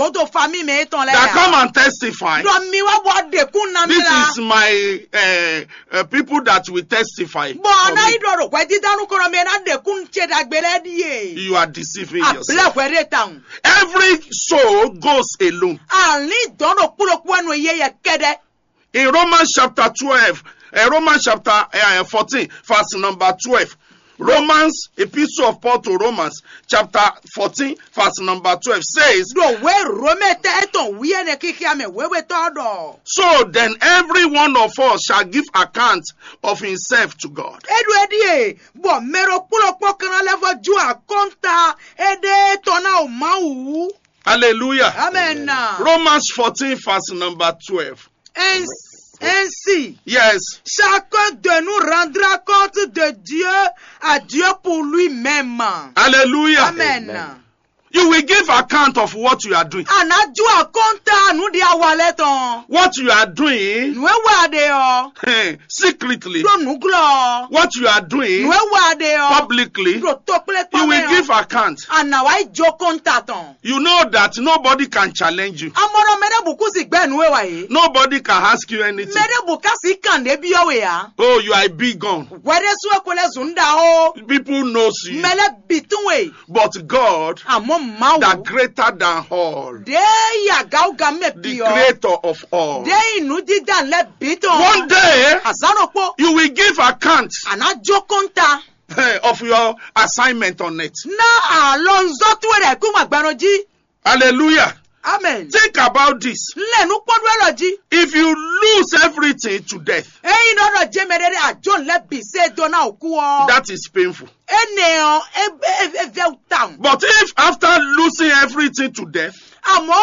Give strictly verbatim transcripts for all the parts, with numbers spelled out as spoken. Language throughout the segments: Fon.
gǒdo famíi mɛ étɔn lɛ́ɛ that come and testify. Ɖɔ mi wá bɔ ɖekún ná mi This la. Is my uh, uh, people that will testify. Bɔ for ná me. Yi ɖɔ ɖo hwɛdídánú kɔnɔ mɛ ná ɖekún ce ɖagbe lɛ́ɛ ɖíe. You are deceiving yourself. Ablɛ hwɛ ɖe tawun. Every soul goes alone. Àlín dɔn ɖo kpúɖokpú ɛnu yeyɛ kɛɖɛ. In Romans chapter twelve, uh, Romans chapter uh, fourteen, verse number twelve. Romans, epistle of Paul to Romans, chapter fourteen, verse number twelve says, ɖo wě Romɛ tɛ etɔn wíyɛ́nɛ xixia mɛ wěwetɔ́ ɖɔ. So then every one of us shall give account of himself to God. É ɖo é ɖíe bɔ mɛ ɖokpó ɖokpó kan ná lɛ́ vɔ jó akɔ́nta éɖée tɔn ná o Mawu. Hallelujah. Amen. Romans fourteen, verse number twelve. Ainsi, ainsi, Yes. Chacun de nous rendra compte de Dieu à Dieu pour lui-même. Hallelujah. Amen. Amen. You will give account of what you are doing. A nǎ jó akɔ́nta nǔ ɖé awa lɛ́ɛ tɔn. What you are doing Nǔ e wa ɖe ɔ́, eh, secretly. Ɖó nǔglɔ́ ɔ́. What you are doing Nǔ e wa ɖe ɔ́, publicly. Ɖo tokplékpɔ́ You will mɛ ɔ́, give account. A nǎ wá yi jó kɔ́nta tɔn. You know that nobody can challenge you. Amɔnɔ mɛ ɖé bǔ kú si gbɛ nǔ e wa yě. Nobody can ask you anything. Mɛ ɖé bǔ ká si kàn ɖě byɔ́ we ǎ. Oh, you are a big gun. Hwɛ ɖé sú e ko lɛ́ zun ɖa ó. People knows you. Mɛ lɛ́ bǐ tún we. But God, Àmọ́ Mawu, that greater than all, ɖě yi agáwúga mɛ the bǐ ɔ́, creator of all. Ɖě yi nǔdídá lɛ́ bǐ tɔn. One day, Azǎn ɖokpó, you will give account a nǎ jó kɔ́nta of your assignment on earth. Ná alɔnzɔ́ towe ɖo ayǐkúngban gbɛ́nɔ jí. Hallelujah. Amen. Think about this. Lɛ nú kpɔ́n ɖó ɛlɔ jí. If you lose everything to death, Eyi nɔ ɖɔ jɛmɛ ɖé ɖé ajɔn lɛ bǐ se do ná òkú ɔ. That is painful. Ene ɔ e e e vɛ tawun. But if after losing everything to death, Àmọ́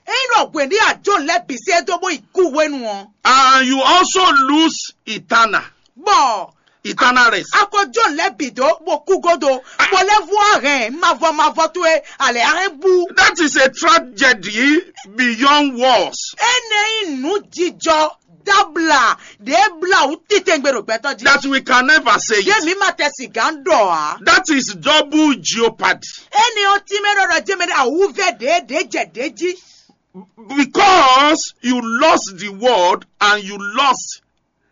eyi nɔ hwɛ ní ajɔn lɛ bǐ se do bó yi kú hwenu ɔ. And you also lose eternal, Bɔ eternal rest. Akɔjɔn lɛ bǐ dó bó kú godo, bó lɛ vú ahɛn mavɔ mavɔ towe alɛ ahɛn bú. That is a tragedy beyond words. Ene yi nǔ jijɔ dabla ɖě bla wú titengbe ɖo gbɛtɔ́ jí. That we can never say Yé it. Mi ma tɛ sigǎn ɖɔ ǎ. That is double jeopardy. Ene ɔ tínmɛ ɖɔ ɖɔ jɛmɛ ɖe awúvɛ ɖě ɖě jɛ ɖě jí. Because you lost the world and you lost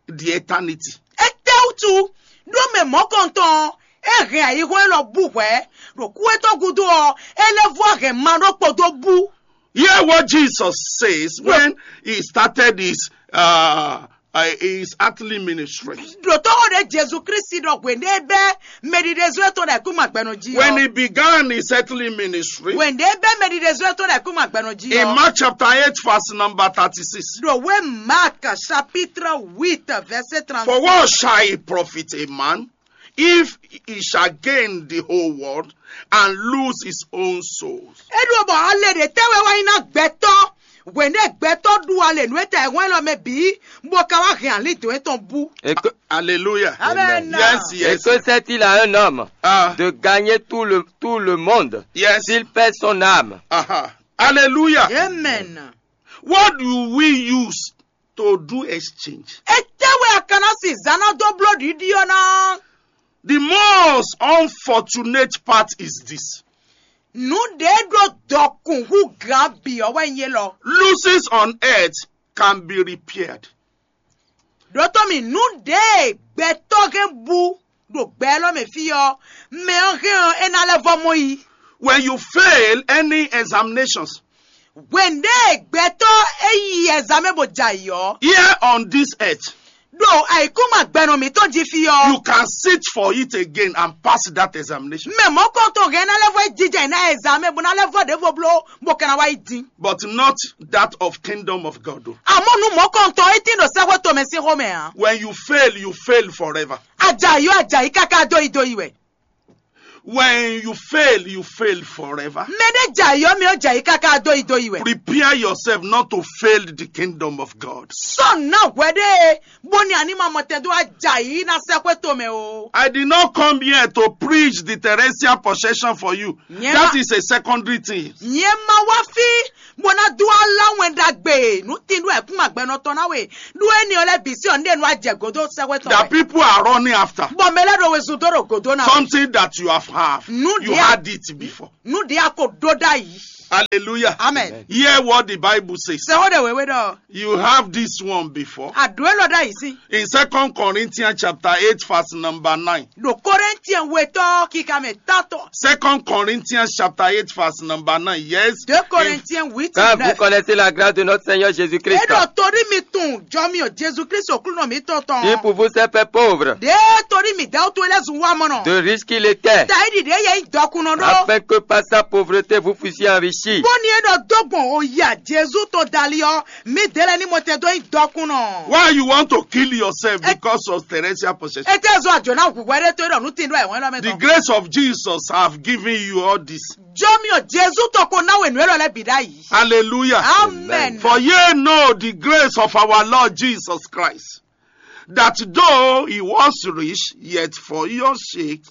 the eternity. Étɛ́wútu ɖó mɛ mɔ̌kɔntɔn e hɛn ayihɔ́n élɔ́ bú hwɛ̌ ɖo kú étɔn gúdo ɔ́, é lɛ́ vɔ hɛn ma ɖó kpodó bú. Hear what Jesus says when he started his uh, uh, his earthly ministry. Ɖǒtɔ́ xó ɖě Jezu Klísu ɖɔ hwěɖé bɛ́ mɛɖiɖezɔ́ tɔn ɖo ayǐkúngban gbɛ́nɔ jí When ɔ́. He began his earthly ministry, Hwěɖé bɛ́ mɛɖiɖezɔ́ tɔn ɖo ayǐkúngban gbɛ́nɔ jí in ɔ́. Mark chapter eight, verse number thirty-six. Ɖo wé Mark chapitre huit verset trente. For what shall it profit a man if he shall gain the whole world and lose his own soul? É ɖo bɔ ale ɖě tɛ́ wɛ wá nyí ná gbɛtɔ́ hwěɖé gbɛtɔ́ ɖu ale nǔ e ta ɛhwɛ́n lɔ mɛ bǐ bó ka wá hɛn alídǒ étɔn bú. Et que, Hallelujah. Amen. Yes, et yes. Que sert-il à un homme Ah, de gagner tout le, tout le monde yes. S'il perd son âme? Aha. Hallelujah. Amen. What do we use to do exchange? Etɛ́ wɛ a ka ná si zǎn ná dó bló ɖiɖi ɔ́ ná? The most unfortunate part is this. Nǔ ɖě ɖo dɔkun hú gǎn bǐ ɔ́ wɛ nyí élɔ́. Losses on earth can be repaired. Ɖǒtɔ́ mi nǔ ɖě gbɛtɔ́ hɛn bú ɖo gbɛ élɔ́ mɛ fí ɔ́, mɛ ɔ́ hɛn ɔ́ é ná lɛ́ vɔ mɔ yi. When you fail any examinations, Hwěɖé gbɛtɔ́ é yi ɛzamɛ bó jɛ ayǐ ɔ́, here on this earth, ɖo ayǐkúngban gbɛnɔ mǐtɔn jí fí ɔ́, You can sit for it again and pass that examination. Mɛ mɔ̌kɔntɔn hɛn ná lɛ́ vɔ yi jijɛ ná ɛzamɛ bó ná lɛ́ vɔ ɖěvo bló bó ka ná wá yi dín. But not that of kingdom of God. Though. Àmọ́ nú mɔ̌kɔntɔn é tín ɖo sɛ́xwé tomɛ sín xomɛ ǎ. When you fail, you fail forever. Ajayí ɔ́ ajayí káká dó yi dó yi wɛ. When you fail, you fail forever. Mɛ ɖé jɛ ayǐ ɔ́ mɛ ɔ́ jɛ ayǐ káká dó yi dó yi wɛ. Prepare yourself not to fail the kingdom of God. Sɔ́ nǔ ná hwɛ ɖé bó ní a ní ma mɔ tɛn dó wá jɛ ayǐ ná sɛ́ xwé tomɛ o. I did not come here to preach the terrestrial possession for you. Nyɛ That ma- is a secondary thing. Nyɛ ma wá fí bó ná dó wá lá wɛn ɖagbe nú tín ɖó ɛkún agbɛnɔ tɔn ná we ɖó énɛ́ ɔ́ lɛ́ɛ bǐ sí ɔ́ ní ɖe nú ajɛ gǒdó sɛ́xwé tɔn That wɛ. People are running after. Bɔ mɛ lɛ́ɛ ɖo wezun dó ɖo gǒdó ná we. Something that you have have. Nú You ɖě had it before. Nú ɖě a ko ɖó ɖ'ayǐ. Hallelujah. Amen. Hear what the Bible says. Sɛ xó ɖe wěwé ɖɔ. You have this one before. Àdó é lɔ ɖ'ayǐ sí. In Second Corinthians chapter eight, verse number nine. Ɖo Korinthiɛn wetɔ́ kíka mɛ tátɔ. Second Corinthians chapter eight, verse number nine. Yes. Deux Corinthiens huit Car vous neuf. Connaissez la grâce de notre Seigneur Jésus-Christ. Eɖɔ torí mi tun jɔmi o Jesu Kristu Aklúnɔ mǐtɔn Qui tɔn. Pour vous s'est fait pauvre, Ɖé torí mi dɛwú to lɛ́ zun wá mɔnɔ. De riche qu'il était, Tayi ɖi ɖě yɛ nyí dɔkunnɔ ɖó. Afin que par sa pauvreté vous fussiez enrichis. Bóni é ɖɔ dó gbɔn o ya Jesu tɔn dali ɔ́, mi délé ní mo tɛ dó nyí dɔkunnɔ. Why you want to kill yourself because of terrestrial possession? Ete zɔ àjò náà hùwẹ́ ɖé tó ɖɔ nú tin ɖó ẹ̀wọ̀n lɔ mɛ The tɔn. Grace of Jesus have given you all this. Jɔmi o Jesu tɔn ko náwó ènú élɔ́ lɛ́ bǐ ɖ'ayǐ. Hallelujah. Amen. For ye know the grace of our Lord Jesus Christ, that though he was rich, yet for your sake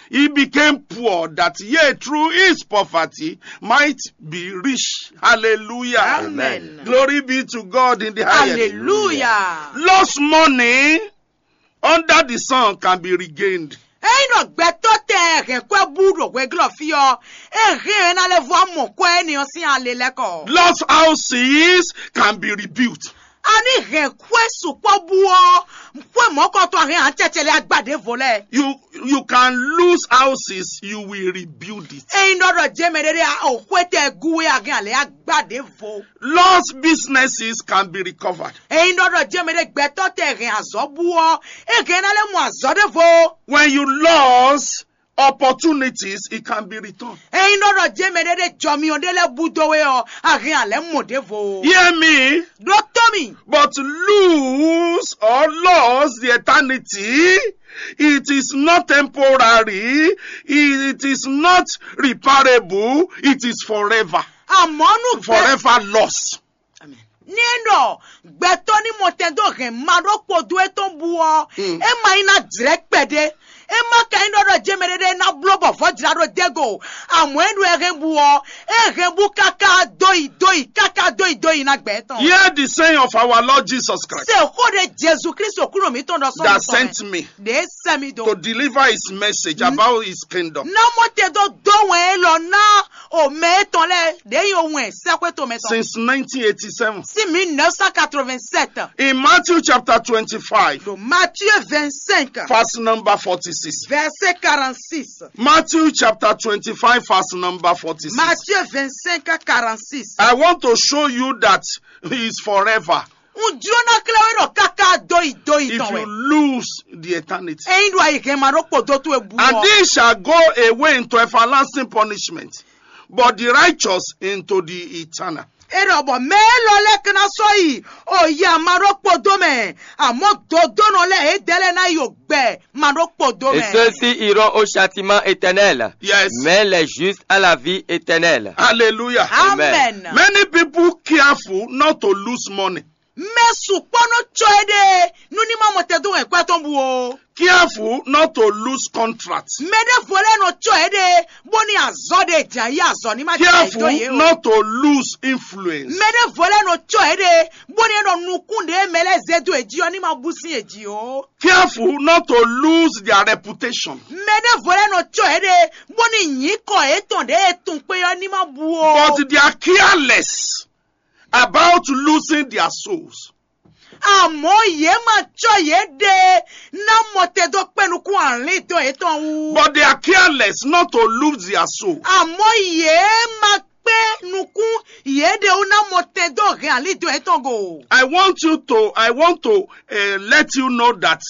he became poor, that ye through his poverty might be rich. Hallelujah. Amen. Glory be to God in the highest. Hallelujah. Lost money under the sun can be regained. Eyi nɔ gbɛtɔ tɛ hɛn kwɛ bú ɖo hwɛglɔ fi ɔ, e hɛn ɛ na lɛ vɔ mɔ kwɛ ni ɔ sin ale lɛ kɔ. Lost houses can be rebuilt. Ani hɛn kwɛ sukpɔ bú ɔ, kwɛ mɔkɔtɔ hɛn atsɛtsɛ lɛ agba ɖe vo lɛ. You you can lose houses, you will rebuild it. Eyi nɔ ɖɔ jɛ mɛ ɖe ɖe o kwɛ tɛ gu we a hɛn ale agba ɖe vo. Lost businesses can be recovered. Eyi nɔ ɖɔ jɛ mɛ ɖe gbɛtɔ tɛ hɛn azɔ bú ɔ, e hɛn na lɛ mɔ azɔ ɖe vo. When you lost opportunities, it can be returned. Eyi nɔ ɖɔ jɛ mɛ ɖe ɖe jɔmiɔ ɖe lɛ bú do we ɔ, a hɛn alɛ mɔ ɖe vo. Hear me, Ɖo tɔn mi. But lose or lost the eternity, it is not temporary, it is not reparable, it is forever. Àmọ́ nú gbɛ Forever lost. ní ẹ nɔ gbɛtɔ ní mɔ tɛn dó hɛn ma ɖó kpodo etɔn bu ɔ, e ma yi ná dzrɛ kpɛɖé. E ma ka yi nɔ ɖɔ jɛmɛ ɖeɖe ná bló bɔ vɔ́ jlá ɖó dégò. Àmọ́ e ɖo ɛ hɛn bu ɔ, e hɛn bu káká dó yi dó yi káká dó yi dó yi ná gbɛ tɔn. Hear the saying of our Lord Jesus Christ Sè xó ɖe Jesu Kristu kúrò mí tɔn ɖɔ sɔ́ that mi tɔn mɛ. sent me Ɖe sɛ mi do. to deliver his message about his kingdom. Ná mɔ te dó dó wɛn élɔ́ ná o mɛ étɔn lɛ́ɛ ɖě yi o wɛn sɛ́xwé tomɛ tɔn. Since nineteen eighty-seven. Sí mille neuf cent quatre-vingt-sept. In Matthew chapter twenty-five, Ɖo Matthieu vingt-cinq, verse number forty-six. Verset quarante-six. Matthew chapter twenty-five, verse number forty-six. Matthieu vingt-cinq, quarante-six. I want to show you that he is forever. Un jló ná klɛ́ wé ɖɔ káká dó yi dó yi If tɔn you wɛ. Lose the eternity. Eyín ɖo ayǐ hɛn ma ɖó kpo dó tó e bu And ɔ. These shall go away into everlasting punishment, but the righteous into the eternal. E ɖɔ bɔ mɛ élɔ́ lɛ́ɛ ka ná sɔ́ yi o yi ama ɖó kpo dó mɛ, àmọ́ dodónɔ lɛ́ɛ é dɛ́ lɛ́ɛ ná yi o gbɛ ma ɖó kpo dó Et mɛ. Ceux-ci iront au châtiment éternel, Yes. Mais les justes à la vie éternelle. Hallelujah. Amen. Many people careful not to lose money. Mɛ sukpɔ́ nɔ tsɔ é ɖe nú ní ma mɔ tɛ dó wɛn kwɛ tɔn bu o. Careful not to lose contracts. Mɛ ɖé vo lɛ́ɛ nɔ tsɔ é ɖe bó ní azɔ ɖe jà yí azɔ ní ma jɛ Careful dó yé o. Not to lose influence. Mɛ ɖé vo lɛ́ɛ nɔ tsɔ é ɖe bó ní nɔ nukún ɖe mɛ lɛ́ɛ zé dó èjì ɔ ní ma bú sín èjì o. Careful not to lose their reputation. Mɛ ɖé vo lɛ́ɛ nɔ tsɔ é ɖe bó ní nyǐkɔ étɔn ɖe e tun kpé ɔ ní ma bú o. But they are careless about losing their souls. Àmọ́ yě ma tsɔ yě ɖe ná mɔ tɛ dó kpé nukún àlín dó yětɔn wú. But they are careless not to lose their soul. Àmọ́ yě ma kpé nukún yě ɖe wú ná mɔ tɛ dó hɛn àlín dó yětɔn go. I want you to, I want to uh, let you know that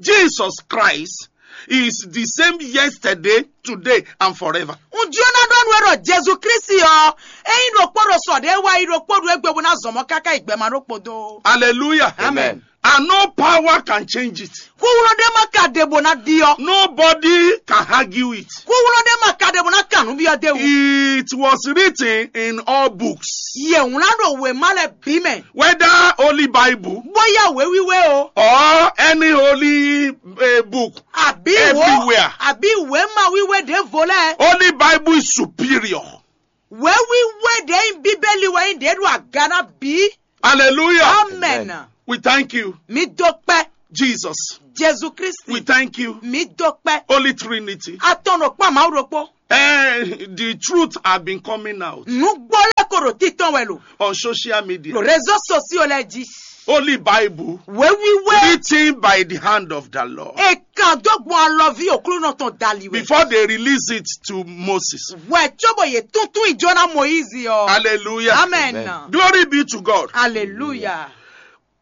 Jesus Christ is the same yesterday, today, and forever. Ŋjó ná ɖɔ nú ẹ ɖɔ Jesu Kristi ɔ, é nyí ɖokpó ɖo sɔ ɖé wá yi ɖokpó ɖo égbé bó ná zɔmɔ káká yi gbɛmɛ ɖokpó dó. Hallelujah. Amen. And no power can change it. Kúwúlɔ ɖé má ka ɖe bó ná ɖi ɔ. Nobody can argue it. Kúwúlɔ ɖé má ka ɖe bó ná kà nú byɔ́ dé wú. It was written in all books, Yě wlán ɖo wěma lɛ bǐ mɛ. Whether Holy Bible Bóyá wéwíwé o. Or any holy uh, book. Àbí wò Everywhere. Àbí wéma wíwé ɖěvo lɛ. Holy Bible is superior. Wéwíwé ɖě nyí bíbélì wɛ nyí ɖě ɖo aga ná bí. Hallelujah. Amen. We thank you, Mi dó kpẹ́. Jesus. Jesu We Kristi. Thank you, Mi dó kpẹ́. Holy Trinity. Atɔnɔ kpá Mawu ɖokpó. And the truth have been coming out Nǔgbó lɛ́ ko ɖo títɔn wɛ lo. On social media. Ɖo réseaux sociaux lɛ́ɛ jí. Holy Bible. Wéwíwé. Written by the hand of the Lord. È kàn dó gbɔn alɔví Aklúnɔ tɔn dali wɛ. Before they release it to Moses. Wɛ cóbɔ yě túntún ìjó ná Moyízi ɔ. Hallelujah. Amen. Amen. Glory be to God. Hallelujah.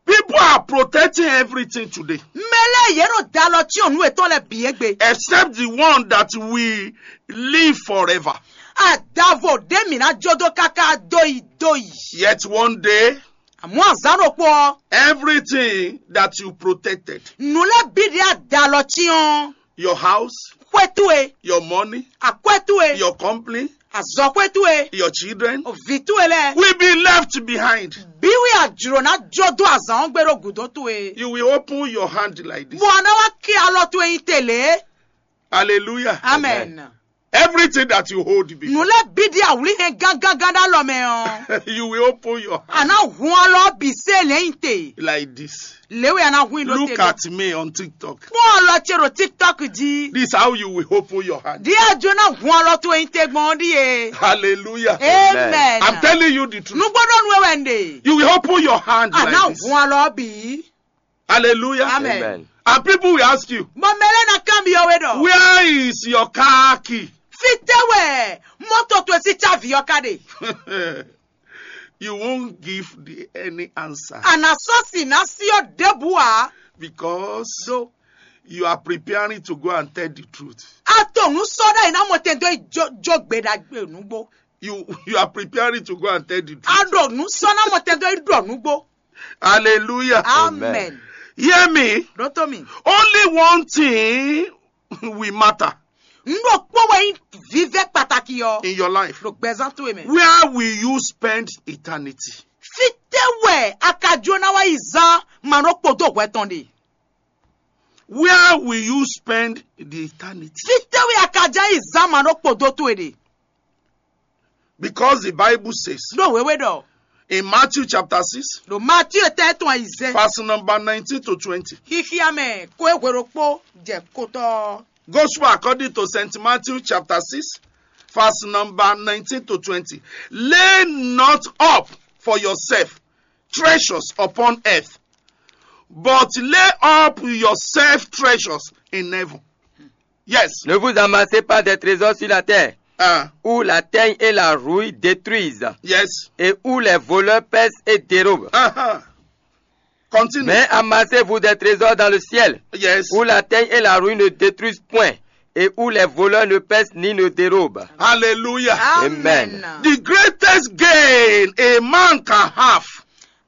People are protecting everything today. Mɛ lɛ́ɛ yě nɔ da alɔ cyɔn nǔ yětɔn lɛ́ɛ bǐ égbé. Except the one that we live forever. Adavo ɖé mǐ ná jó dó káká dó yi dó yi. Yet one day, Àmọ́ azǎn ɖokpó ɔ́, everything that you protected, nǔ lɛ́ɛ bǐ ɖě a da alɔ cyɔn. Your house, Xwé towe, your money, akwɛ́ towe, your company, azɔxwé towe, your children, vǐ towe lɛ́ɛ. Will be left behind. Bí wí a jlǒ ná jó dó azǎn ɔ́ gbé ɖó gǔdo towe. You will open your hand like this. Bɔ a ná wá ké alɔ towe nyi te lě. Hallelujah. Amen. Everything that you hold before, Nǔ lɛ́ɛ bǐ ɖi awlí hɛn gángangán ɖó alɔ mɛ ɔ́. You will open your hand. A ná hun alɔ ɔ́ bǐ sé lɛ̌nyí te. Like this. Lě wɛ a ná hun i ɖó Look te. At me on TikTok. Kpɔ́n alɔ ce ɖo TikTok jí. This is how you will open your hand. Ɖí a jó ná hun alɔ towe nyi te gbɔn ɔ́ ɖíe. Hallelujah. Amen. I'm telling you the truth. Nǔgbó ɖɔ nú we wɛ un ɖe. You will open your hand. A like ná this. Hun alɔ ɔ́ bǐ. Hallelujah. Amen. Amen. And people will ask you, Bɔ mɛ lɛ́ɛ ná kanbyɔ́ we ɖɔ. Where is your car key? Fítɛ́ wɛ mɔ́to towe sín cávi ɔ́ ka ɖe? You won't give the any answer. A nǎ sɔ́ si ná sí ɔ́ ɖěbǔ ǎ. Because you are preparing to go and tell the truth. A to nǔ sɔ́ ɖ'ayǐ ná mɔ tɛn dó yi jó jó gbe ɖagbe nǔgbó. You you are preparing to go and tell the truth. A ɖo nǔ sɔ́ ná mɔ tɛn dó yi ɖɔ nǔgbó. Hallelujah. Amen. Hear me. Ɖótó mi. Only one thing will matter. Nú ɖokpó wɛ nyí vívɛ́ kpatakí ɔ́. In your life. Ɖo gbɛzán towe mɛ. Where will you spend eternity? Fítɛ́ wɛ a ka jó ná wá yi zán ma nɔ kpo dó hwɛ tɔn ɖe? Where will you spend the eternity? Fítɛ́ wɛ a ka já yi zán ma nɔ kpo dó towe ɖe? Because the Bible says, Ɖó wěwé ɖɔ. In Matthew chapter six, Ɖo Matíu tɛ́ tɔn ayizɛ́. Verse number nineteen to twenty. Xíxíá mɛ kó é hwe ɖokpó jɛ kotɔ́. Gospel according to Saint Matthew chapter six, verse number nineteen to twenty. Lay not up for yourself treasures upon earth, but lay up yourself treasures in heaven. Yes. Ne vous amassez pas des trésors sur la terre, Ah, où la teigne et la rouille détruisent, yes. Et où les voleurs percent et dérobent. Uh-huh. Continue. Mais amassez-vous des trésors dans le ciel, Yes. Où la teigne et la rouille ne détruisent point, et où les voleurs ne percent ni ne dérobent. Hallelujah. Amen. The greatest gain a man can have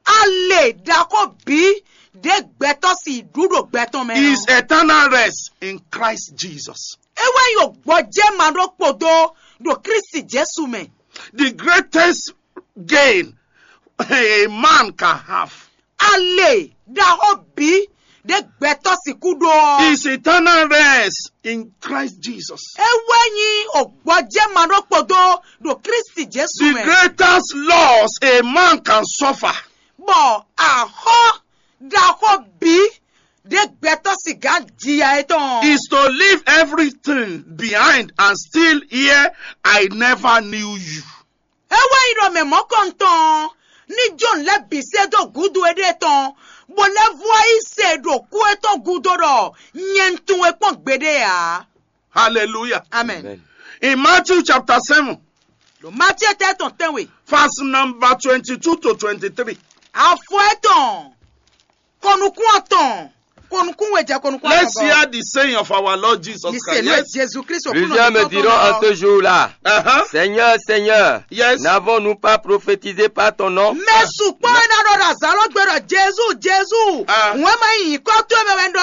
A lè ɖaxó bǐ ɖě gbɛtɔ́ si ɖu ɖo gbɛ tɔn mɛ ɔ́. Is eternal rest in Christ Jesus. É wɛ nyí gbɔjɛ́ ma ɖó kpodó ɖo Klísu Jezu mɛ. The greatest gain a man can have A lè ɖaxó bǐ ɖě gbɛtɔ́ sixú ɖó ɔ́. Is eternal rest in Christ Jesus. É wɛ nyí gbɔjɛ́ ma ɖó kpodó ɖo Klísu Jezu The mɛ. Greatest loss a man can suffer Bɔ axɔ́ ɖaxó bǐ ɖě gbɛtɔ́ sixá jiya é tɔn. Is to leave everything behind and still hear, "I never knew you." É wɛ nyí ɖɔ mɛ mɔ̌kɔntɔn ɔ́ ní jó nǔ lɛ́ɛ bǐ sɛ́ dó gǔdo éɖée tɔn, bó lɛ́ vú wá yi se ɖo kú étɔn gúdo ɖɔ nyɛ un tunwun we kpɔ́n gbeɖé ǎ. Hallelujah. Amen. Amen. In Matthew chapter seven, Ɖo Matíe tɛ́ tɔn tɛ́nwe. Verse number twenty-two to twenty-three. Afɔ étɔn, kɔnukún atɔn, kɔnukún we jɛ kɔnukún Let's atɔn. Hear the saying of our Lord Jesus Christ. Yes. Jesu Kristo Plusieurs me diront en ce jour-là, Uh-huh. Seigneur, Seigneur, Yes. N'avons-nous pas prophétisé par ton nom? Mɛ sukpɔ́ ɛ ná ɖɔ ɖo azǎn lɔ gbe ɖɔ Jezu, Jezu, Ah. Wɛn ma nyǐkɔ towe mɛ wɛ un ɖɔ